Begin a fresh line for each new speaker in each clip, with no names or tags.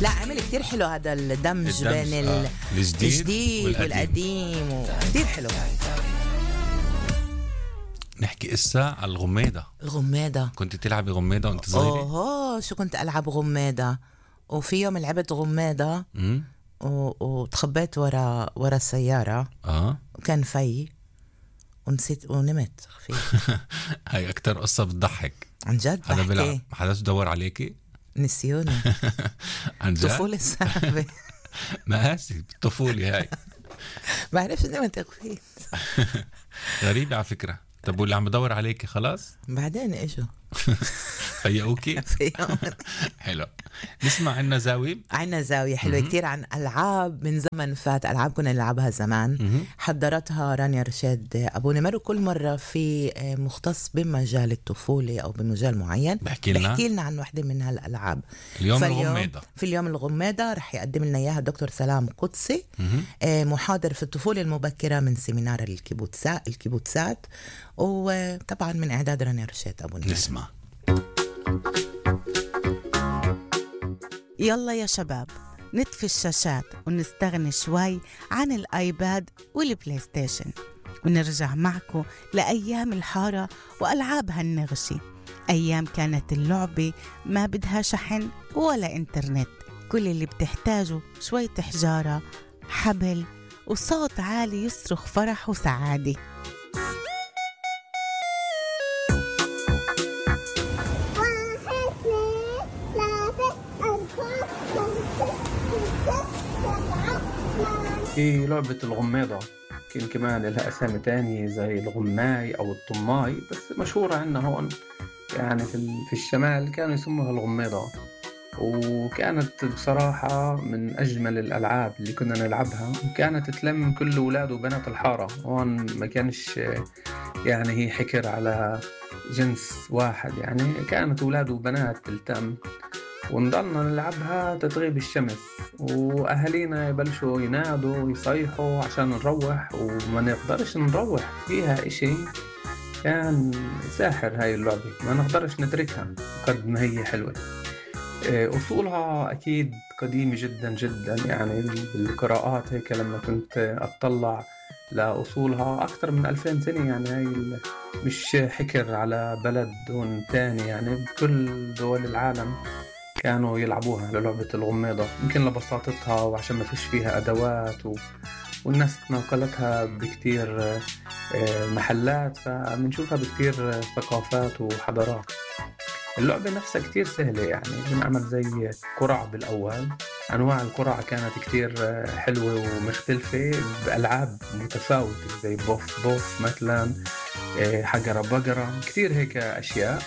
لا عمل كتير حلو هذا الدمج بين الجديد والقديم كتير حلو.
نحكي إسا على
الغمادة.
كنت تلعبي غمادة وانت صغيرة؟
شو كنت ألعب غمادة، وفي يوم لعبت غمادة وتخبيت ورا السيارة وكان في ونسيت ونمت خفيف.
هاي أكتر قصة بتضحك
عن جد.
ما حداش دور عليكي؟
نسيوني.
عن جد؟
طفولة صعبة.
مقاسي الطفولة هاي.
بعرفش نمت خفيف.
غريبة على فكرة. طب واللي عم بدور عليكي خلاص؟
بعدين اجوا
فيقوكي؟ حلو. نسمع عنا زاوية
حلوة كتير عن ألعاب من زمن فات، ألعاب كنا نلعبها زمان. حضرتها رانيا رشاد أبو نمر، وكل مرة في مختص بمجال الطفولة أو بمجال معين بحكي لنا عن واحدة من هالألعاب. في اليوم الغمادة رح يقدم لنا إياها الدكتور سلام قدسي، محاضر في الطفولة المبكرة من سيمينار الكيبوتسات، وطبعا من إعداد رانيا رشاد أبو نمر.
نسمع.
يلا يا شباب نطفي الشاشات ونستغني شوي عن الآيباد والبلاي ستيشن، ونرجع معكم لأيام الحارة وألعابها النغشي. أيام كانت اللعبة ما بدها شحن ولا إنترنت، كل اللي بتحتاجه شوية حجارة، حبل، وصوت عالي يصرخ فرح وسعادة.
في لعبة الغمادة كمان لها أسامي تانية زي الغماي أو الطماي، بس مشهورة عنا هون يعني في الشمال كانوا يسموها الغمادة. وكانت بصراحة من أجمل الألعاب اللي كنا نلعبها، وكانت تلم كل أولاد وبنات الحارة. هون ما كانش يعني هي حكر على جنس واحد، يعني كانت أولاد وبنات تلتم، ونضلنا نلعبها تتغيب الشمس، وأهالينا يبلشوا ينادوا ويصيحوا عشان نروح، وما نقدرش نروح فيها. إشي كان ساحر هاي اللعبة، ما نقدرش نتركها قد ما هي حلوة. أصولها أكيد قديمة جدا جدا، يعني بالقراءات هيك لما كنت أطلع لأصولها أكثر من 2000 سنة. يعني هاي مش حكر على بلد دون تاني، يعني بكل دول العالم كانوا يلعبوها للعبة الغمادة، يمكن لبساطتها وعشان ما فيش فيها أدوات والناس نقلتها بكتير محلات، فمنشوفها بكتير ثقافات وحضارات. اللعبة نفسها كتير سهلة، يعني بنعمل زي قرع بالأول. أنواع القرع كانت كتير حلوة ومختلفة بألعاب متفاوتة زي بوف مثلا، حجرة بقرة، كتير هيك أشياء.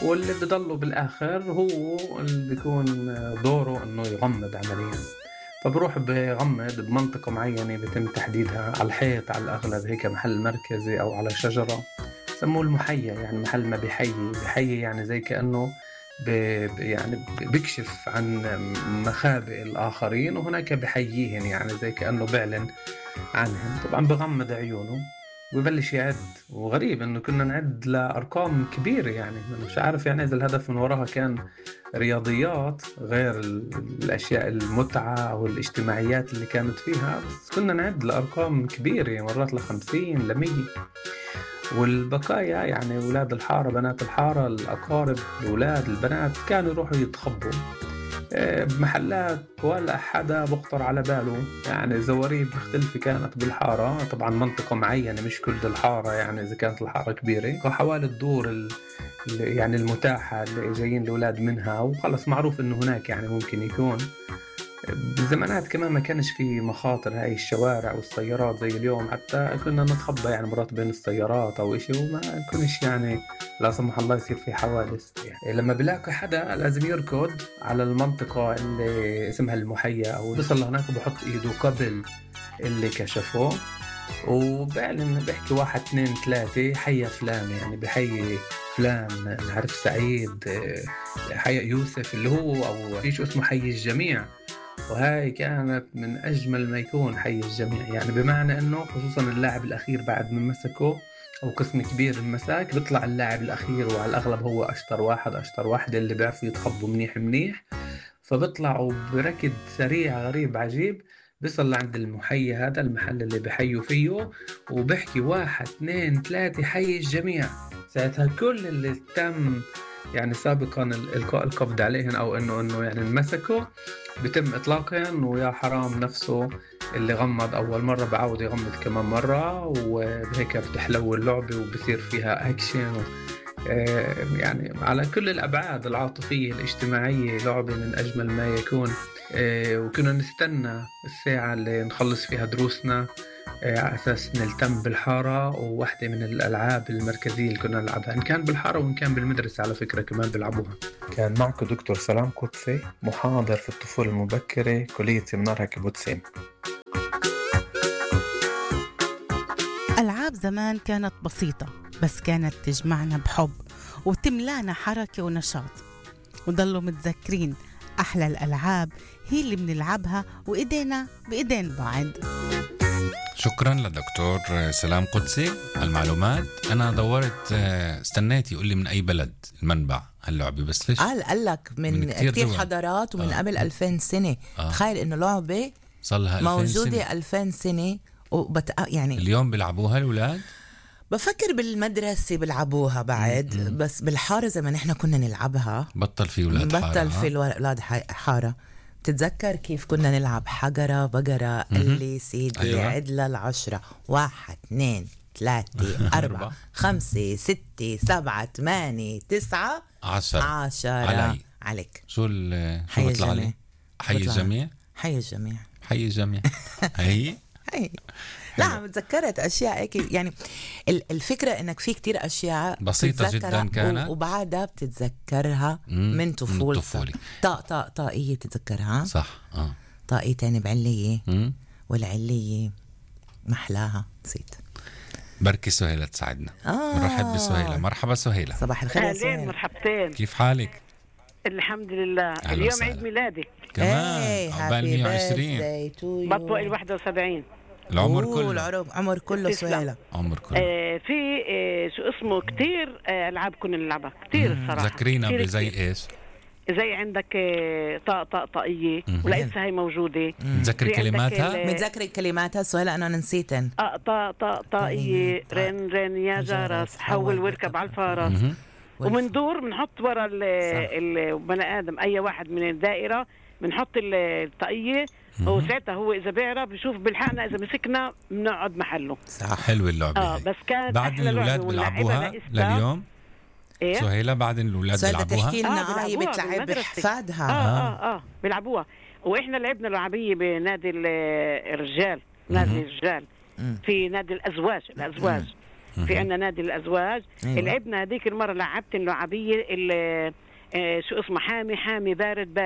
واللي بضله بالآخر هو اللي بيكون دوره إنه يغمض عمليا، فبروح بغمض بمنطقة معينة بيتم تحديدها على الحيط على الأغلب، هيك محل مركزي أو على شجرة سموه المحية، يعني محل ما بحيي يعني زي كأنه يعني بيكشف عن مخابئ الآخرين، وهناك بحييهن يعني زي كأنه بيعلن عنهم. طبعا بغمض عيونه ويبلش يعد، وغريب انه كنا نعد لارقام كبيره، يعني مش عارف يعني اذا الهدف من وراها كان رياضيات غير الاشياء المتعه او الاجتماعيات اللي كانت فيها، بس كنا نعد لارقام كبيره، مرات ل50 ل100. والبقايا يعني اولاد الحاره بنات الحاره الاقارب الاولاد البنات كانوا يروحوا يتخبوا بمحلات ولا حدا بخطر على باله، يعني زواريب مختلفة كانت بالحارة. طبعا منطقة معينة مش كل الحارة، يعني إذا كانت الحارة كبيرة وحوالي الدور يعني المتاحة اللي جايين الأولاد منها، وخلص معروف إنه هناك يعني ممكن يكون. بالزمانات كمان ما كانش في مخاطر هاي الشوارع والسيارات زي اليوم، حتى كنا نتخبى يعني مرات بين السيارات أو إشي، وما كنش يعني لا سمح الله يصير في حوادث. يعني لما بلاقي حدا لازم يركض على المنطقة اللي اسمها المحية، أو بيصل لهناك وبحط إيده قبل اللي كشفه، وبعلن بحكي 1 2 3 حي فلان، يعني بحي فلان، نعرف سعيد، حي يوسف اللي هو، أو فيش اسمه حي الجميع. وهاي كانت من أجمل ما يكون حي الجميع، يعني بمعنى أنه خصوصا اللاعب الأخير بعد من مسكه أو قسم كبير المساك بيطلع اللاعب الأخير، وعلى الأغلب هو أشطر واحد اللي بيعرفوا يتخبوا منيح، فبيطلعوا بركض سريع غريب عجيب، بيصل لعند المحيي هذا المحل اللي بحيوا فيه، وبحكي 1 2 3 حي الجميع. ساعتها كل اللي تم يعني سابقا القبض عليهم أو إنه يعني انمسكوا بتم إطلاقهم، ويا حرام نفسه اللي غمض أول مرة بعود يغمض كمان مرة، وبهيك بتحلو اللعبة وبصير فيها أكشن يعني على كل الأبعاد العاطفية الاجتماعية. لعبة من أجمل ما يكون. وكنا نستنى الساعة اللي نخلص فيها دروسنا على أساس نلتم بالحارة. وواحدة من الألعاب المركزية اللي كنا نلعبها إن كان بالحارة وإن كان بالمدرسة على فكرة كمان بيلعبوها. كان معكم دكتور سلام قدسي، محاضر في الطفولة المبكرة، كلية منار كبوتسيم.
ألعاب زمان كانت بسيطة بس كانت تجمعنا بحب وتملانا حركة ونشاط، وضلوا متذكرين أحلى الألعاب هي اللي بنلعبها وإيدينا بإيدين بعض.
شكرا لدكتور سلام قدسي على المعلومات. أنا دورت استنيت يقول لي من أي بلد المنبع هاللعبة، بس فيش
قال لك من كتير حضارات ومن قبل 2000 سنة. تخيل إنه لعبة
صلها
موجودة 2000 سنة يعني
اليوم بيلعبوها الأولاد.
بفكر بالمدرسة بيلعبوها بعد. بس بالحارة زي ما نحن كنا نلعبها
بطل في أولاد حارة.
بطل في أولاد حارة. بتتذكر كيف كنا نلعب حجرة بقرة اللي سيدي أيوة. عدلة 10 1 2 3 4 5 6 7 8 9 10 عليك.
شو بطلع لي؟ حي الجميع.
حي الجميع.
حي الجميع. هي
لا تذكرت أشياء هيك يعني. الفكرة إنك في كتير أشياء
بسيطة جدا كانت
وبعدها بتتذكرها من طفولتك. طاقية بتتذكرها
صح.
طاقية تاني بعلية والعلية محلاها نسيت.
بركي سهيلة تساعدنا. مرحب بسهيلة. مرحبا سهيلة.
صباح الخير يا سهيلة.
مرحبتين.
كيف حالك؟
الحمد لله. اليوم عيد ميلادي
كمان. عقبال 120
بطوء 71.
العمر كله.
العمر كله سهيلة.
عمر كله.
في شو اسمه كتير ألعاب كنا نلعبها كتير الصراحة.
ذكرينا بزي إيش؟
زي عندك طاقية ولسه هي موجودة.
متذكر كلماتها؟
متذكر كلماتها سهيلة أنا نسيتن.
طاقية رن يا جرس حول واركب على الفرس. ومندور بنحط ورا البني آدم أي واحد من الدائرة بنحط الطاقية، وساعتها هو إذا بيعرف بيشوف بالحقنا، إذا مسكنا بنقعد محله.
صح. حلو اللعبة.
بس كانت
بعد الأولاد بيلعبوها لليوم.
إيه؟
سهيلة بعد الأولاد بيلعبوها.
تحكي لنا هي بتلعب بحفادها.
بيلعبوها. وإحنا لعبنا لعبية بنادي الرجال. نادي الرجال. في نادي الأزواج. في عنا نادي الأزواج. لعبنا هذيك المرة لعبت اللعبية اللي شو اسمه حامي بارد.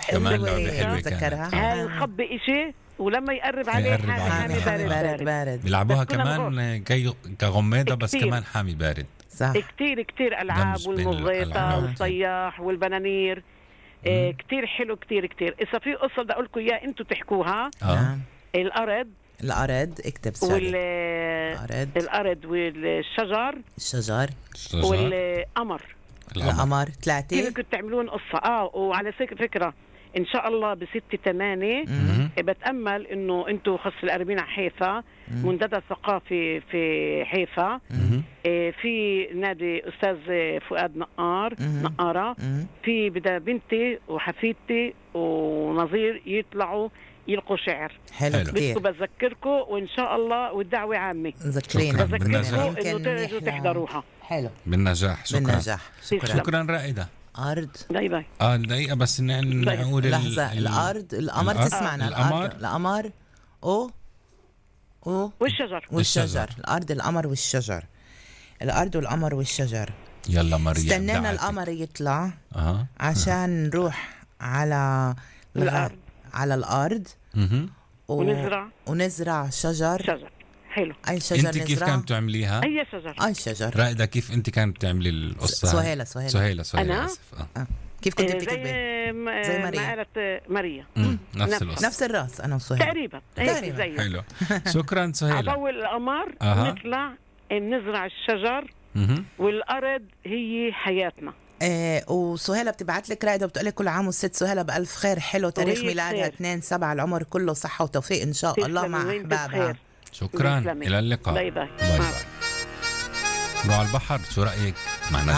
حلوة
تذكرها. هاي نخبي إشي ولما يقرب عليه حامي بارد.
بيلعبوها كمان كغميضة بس كمان حامي بارد.
صح.
كتير ألعاب والمغيطة والصياح والبنانير. كتير حلو كتير. إذا في قصة بدي أقول لكم إياها أنتوا تحكوها.
الأرض اكتب سؤال.
الأرض والشجر والقمر.
القمر 3
كيف كنتوا تعملون قصة. وعلى فكرة إن شاء الله ب6/8 بتأمل إنه أنتوا خص القريبين على حيفا منتدى ثقافي في حيفا. في نادي أستاذ فؤاد نقارة. في بدأ بنتي وحفيدتي ونظير يطلعوا يلقوا شعر.
حلو كتير.
بذكركم وإن شاء الله والدعوة عامة.
بذكركم
إنه ترجوا تحضروها.
حلو.
بالنجاح. شكرا رائدة.
أرض.
باي.
دقيقة بس نقول
لحظة. الأرض القمر تسمعنا. القمر والشجر. الأرض القمر والشجر. الأرض والقمر والشجر.
يلا مريم.
استنينا القمر يطلع عشان نروح على الأرض ونزرع شجر.
حلو.
أي شجر
انت كيف كانت تعمليها؟
أي
شجر.
رائدة كيف انت كانت تعملي القصة؟
سهيلة.
أنا
كيف كنت بتكتبي؟
زي ماريا.
نفس الراس أنا وسهيلة
تقريبا.
حلو. شكرا سهيلة.
أول القمر نطلع نزرع الشجر والأرض هي حياتنا.
وسهيلة بتبعت لك رائدة بتقول لك كل عام والست سهيلة بألف خير. حلو تاريخ ميلادها 2/7، العمر كله صحة وتوفيق إن شاء الله مع أحبابها.
شكرا، إلى اللقاء.
باي باي.
باي باي. روح على البحر، شو رأيك؟ مع نجوى